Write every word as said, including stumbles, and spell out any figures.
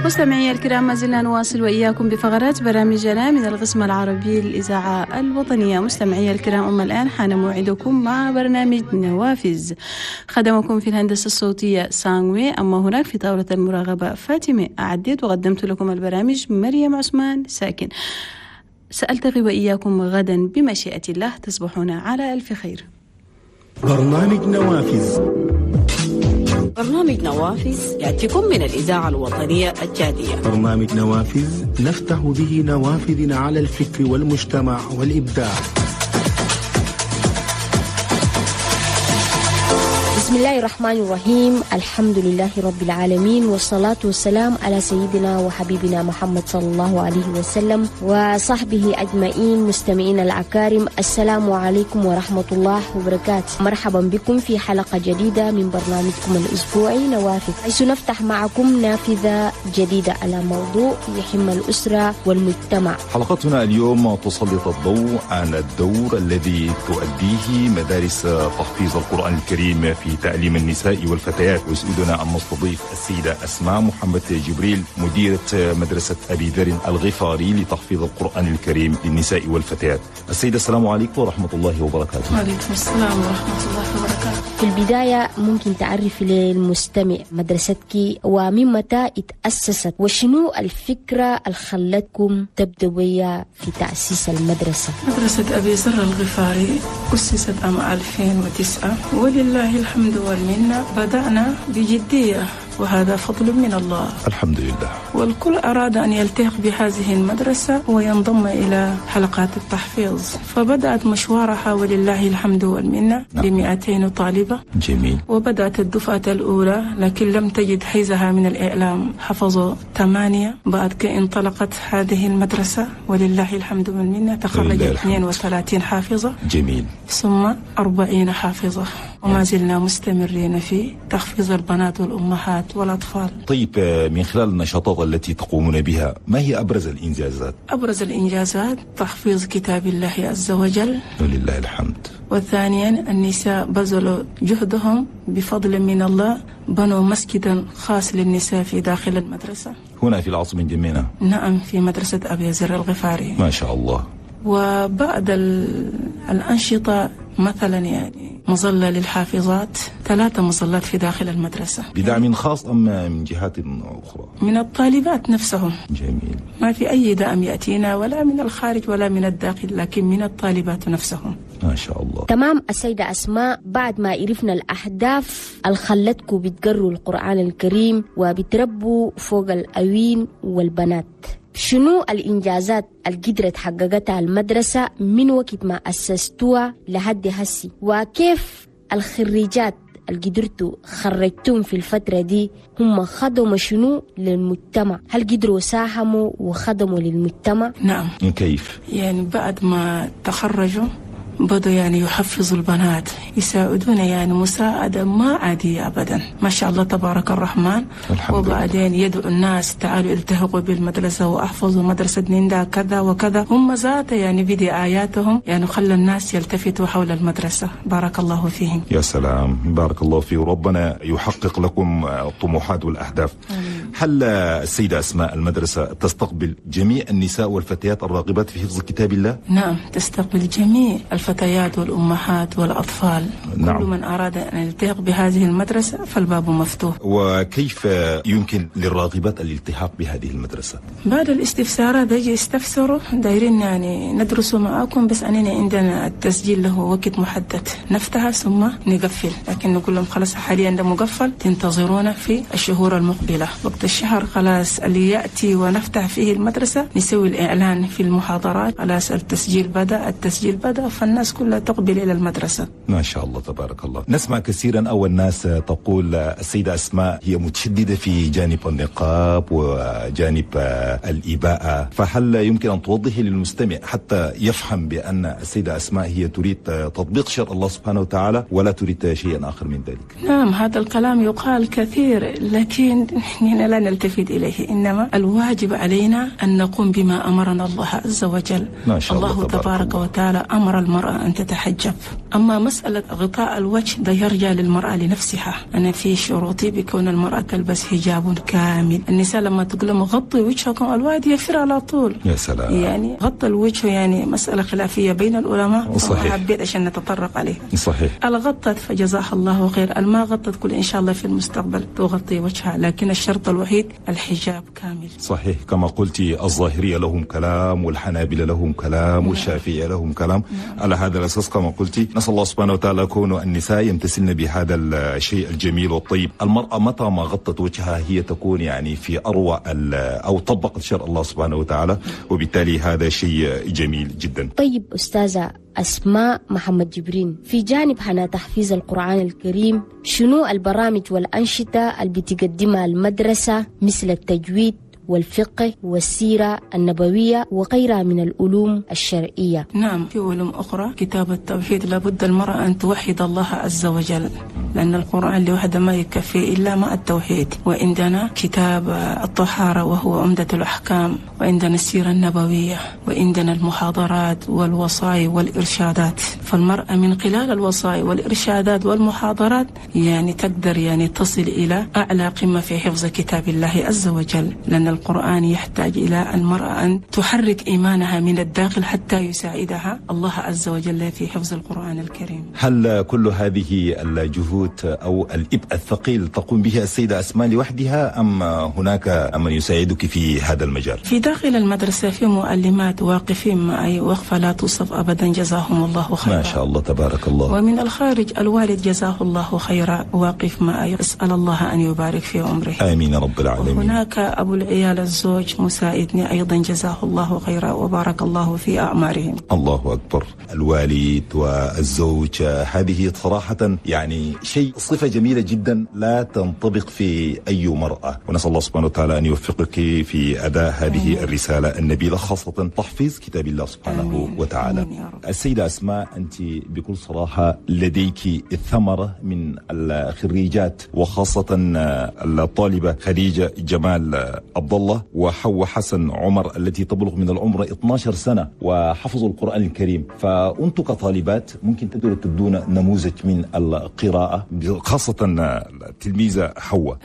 مستمعي الكرام، ما زلنا نواصل وإياكم بفقرات برامجنا من القسم العربي للإذاعة الوطنية. مستمعي الكرام، أما الآن حان موعدكم مع برنامج نوافذ. خدمكم في الهندسة الصوتية سانوي، أما هناك في طاولة المراقبة فاطمة. أعديت وقدمت لكم البرامج مريم عثمان ساكن. سألتقي وإياكم غدا بمشيئة الله. تصبحون على ألف خير. برنامج نوافذ. برنامج نوافذ يأتيكم من الإذاعة الوطنية التشادية. برنامج نوافذ نفتح به نوافذنا على الفكر والمجتمع والإبداع. بسم الله الرحمن الرحيم. الحمد لله رب العالمين، والصلاة والسلام على سيدنا وحبيبنا محمد صلى الله عليه وسلم وصحبه أجمعين. مستمعين الأكارم، السلام عليكم ورحمة الله وبركاته. مرحبا بكم في حلقة جديدة من برنامجكم الأسبوعي نوافذ، حيث نفتح معكم نافذة جديدة على موضوع يهم الأسرة والمجتمع. حلقتنا اليوم تسلط الضوء على الدور الذي تؤديه مدارس تحفيظ القرآن الكريم في تعليم النساء والفتيات. ويسعدنا أن نستضيف السيدة أسماء محمد جبريل، مديرة مدرسة أبي ذر الغفاري لتحفيظ القرآن الكريم للنساء والفتيات. السيدة، السلام عليكم ورحمة الله وبركاته. وعليكم السلام ورحمة الله وبركاته. في البداية ممكن تعرف للمستمع مدرستك ومن متى اتأسست، وشنو الفكرة اللي خلتكم تبدوا بيها في تأسيس المدرسة؟ مدرسة أبي ذر الغفاري أسست عام ألفين وتسعة، ولله الحمد والمنة بدأنا بجدية، وهذا فضل من الله الحمد لله. والكل أراد أن يلتحق بهذه المدرسة وينضم إلى حلقات التحفيظ، فبدأت مشوارها ولله الحمد والمنة نعم. بمئتين طالبة. جميل. وبدأت الدفعة الأولى، لكن لم تجد حيزها من الإعلام، حفظوا ثمانية. بعد كي انطلقت هذه المدرسة ولله الحمد والمنة تخرج اثنين وثلاثين حافظة. جميل. ثم أربعين حافظة، وما زلنا مستمرين في تحفيظ البنات والأمهات والأطفال. طيب، من خلال النشاطات التي تقومون بها، ما هي أبرز الإنجازات؟ أبرز الإنجازات تحفيظ كتاب الله عز وجل ولله الحمد. وثانيا النساء بذلوا جهدهم بفضل من الله، بنوا مسجدا خاص للنساء في داخل المدرسة هنا في العاصمة جمينة. نعم، في مدرسة أبي ذر الغفاري. ما شاء الله. وبعد الأنشطة مثلا يعني مظلة للحافظات، ثلاثة مظلات في داخل المدرسة. بدعم خاص أم من جهات أخرى؟ من الطالبات نفسهم. جميل. ما في أي دعم يأتينا ولا من الخارج ولا من الداخل، لكن من الطالبات نفسهم. ما شاء الله. تمام. السيدة أسماء، بعد ما عرفنا الأهداف اللي خلتكم بتقروا القرآن الكريم وبتربوا فوق الأوين والبنات، شنو الإنجازات اللي قدرت حققتها المدرسة من وقت ما أسستوها لحد هسي، وكيف الخريجات اللي قدرتوا خرجتهم في الفترة دي هم خدموا شنو للمجتمع؟ هل قدروا ساهموا وخدموا للمجتمع؟ نعم. كيف؟ يعني بعد ما تخرجوا بدوا يعني يحفظوا البنات، يساعدون يعني مساعدة ما عادية أبدا، ما شاء الله تبارك الرحمن. وبعدين يدعو الناس تعالوا التحقوا بالمدرسة وأحفظوا مدرسة نيندا كذا وكذا. هم ذات يعني بدعاياتهم يعني خلى الناس يلتفتوا حول المدرسة. بارك الله فيهم. يا سلام، بارك الله فيه، وربنا يحقق لكم الطموحات والأهداف. آمين. هل السيدة أسماء المدرسة تستقبل جميع النساء والفتيات الراغبات في حفظ كتاب الله؟ نعم، تستقبل جميع الفتيات والأمهات والأطفال. نعم. كل من أراد أن يلتحق بهذه المدرسة فالباب مفتوح. وكيف يمكن للراغبات الالتحاق بهذه المدرسة؟ بعد الاستفسارات يجي يستفسروا، دايرين يعني ندرسوا معاكم، بس أننا عندنا التسجيل له وقت محدد، نفتح ثم نقفل، لكن نقول لهم خلاص حاليا ده مقفل، تنتظرونا في الشهور المقبلة. وقت الشهر خلاص اللي يأتي ونفتح فيه المدرسة نسوي الإعلان في المحاضرات، خلاص التسجيل بدأ، التسجيل بدأ، فالناس كلها تقبل إلى المدرسة. ما شاء الله تبارك الله. نسمع كثيرا أول ناس تقول السيدة أسماء هي متشددة في جانب النقاب وجانب الإباءة، فهل يمكن أن توضحي للمستمع حتى يفهم بأن السيدة أسماء هي تريد تطبيق شرع الله سبحانه وتعالى ولا تريد شيئا آخر من ذلك؟ نعم، هذا الكلام يقال كثير، لكن نحن لا لا نلتفت إليه، إنما الواجب علينا أن نقوم بما أمرنا الله عز وجل. ما شاء الله, الله تبارك وتعالى أمر المرأة أن تتحجب. أما مسألة غطاء الوجه ده يرجع للمرأة لنفسها. أنا في شروطي بكون المرأة تلبس حجاب كامل. النساء لما تقول لهم غطي وجهكم الواد يفر على طول. يا سلام، يعني غطى الوجه يعني مسألة خلافية بين العلماء، صحيح، حبيت عشان نتطرق عليه. صحيح، الغطت فجزاها الله خير، الما غطت كل إن شاء الله في المستقبل تغطي وجهها، لكن الشرط الوحيد الحجاب كامل. صحيح، كما قلتي الظاهرية لهم كلام والحنابلة لهم كلام والشافعية لهم كلام. نعم. على هذا الأساس كما قلتي نسأل الله سبحانه وتعالى كون النساء يمتثلن بهذا الشيء الجميل والطيب. المرأة متى ما غطت وجهها هي تكون يعني في أروع أو طبقت شرع الله سبحانه وتعالى، وبالتالي هذا شيء جميل جدا. طيب أستاذة أسماء محمد جبرين، في جانب هنا تحفيظ القرآن الكريم، شنو البرامج والأنشطة اللي بتقدمها المدرسة مثل التجويد والفقه والسيرة النبوية وغيرها من العلوم الشرعية؟ نعم، في علوم أخرى. كتاب التوحيد لابد المرأة أن توحد الله عز وجل، لأن القرآن لوحده ما يكفي إلا مع التوحيد. وعندنا كتاب الطهارة وهو عمدة الأحكام، وعندنا السيرة النبوية، وعندنا المحاضرات والوصايا والإرشادات. فالمرأة من خلال الوصايا والإرشادات والمحاضرات يعني تقدر يعني تصل إلى أعلى قمة في حفظ كتاب الله عز وجل، لأن القرآن يحتاج إلى المرأة أن تحرك إيمانها من الداخل حتى يساعدها الله عز وجل في حفظ القرآن الكريم. هل كل هذه الجهود أو الإبء الثقيل تقوم به السيدة أسماء لوحدها أم هناك من يساعدك في هذا المجال؟ في داخل المدرسة في معلمات واقفين معي وقفة لا توصف أبدا، جزاهم الله خيرا. ما شاء الله تبارك الله. ومن الخارج الوالد جزاه الله خيرا واقف معي، أسأل الله أن يبارك في عمره. آمين رب العالمين. هناك أبو العيال الزوج مساعدني أيضا جزاه الله خيرا وبارك الله في أعمارهم. الله أكبر. الوالد والزوج هذه صراحة يعني شيء صفة جميلة جدا لا تنطبق في أي مرأة، ونسأل الله سبحانه وتعالى أن يوفقك في أداء هذه آمين. الرسالة النبيلة، خاصة تحفيظ كتاب الله سبحانه آمين. وتعالى. آمين يا رب. السيدة أسماء، أنت بكل صراحة لديك الثمرة من الخريجات، وخاصة الطالبة خديجة جمال عبد الله وحواء حسن عمر التي تبلغ من العمر اثنتي عشرة سنة وحفظوا القرآن الكريم. فأنتم كطالبات ممكن تقدروا تدونا نموذج من القراءة، خاصة التلميذة حواء.